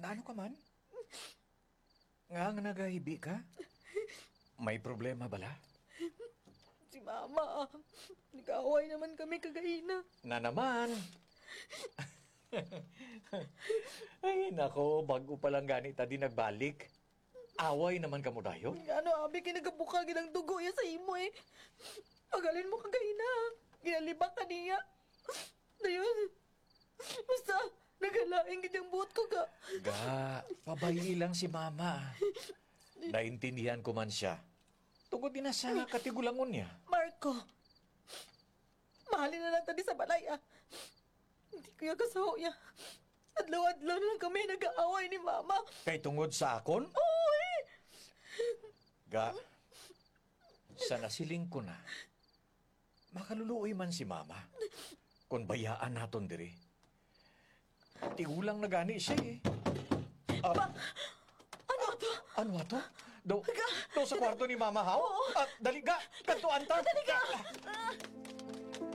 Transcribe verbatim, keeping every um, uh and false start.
Ano ka man? Nga nga nagahibi ka? May problema bala? Si Mama, ah. Nag-away naman kami kagaina. Na naman. Ay, nako, bago pa lang gani ta di nagbalik. Away naman kamo dayon? Ano, abi, kay nagabukal gid ang dugo iya sa imo eh. Pagalin mo kagaina. Ginalibak ka niya. Dayon, basta, nagalain gid ang buot ko ka. Ga, pabayi lang si mama. Naintindihan ko man siya. Tungod din na sa katigulangon niya. Marco, mahalin na lang ta di sa balay, ah. Hindi ko ya kasaho ya. Adlaw-adlaw na lang kami nag-aaway ni Mama. Kay tungod sa akon? Oo, eh. Ga, sa nasiling ko na, makaluluoy man si mama. Kung bayaan naton diri. Tigulang na gani siya eh. Ah, Ano to? Ano ato? Do, Ga! Do sa kwarto ni mama, haw? Oo. Ah, dali, ga! Kantuan ta! Dali, ga!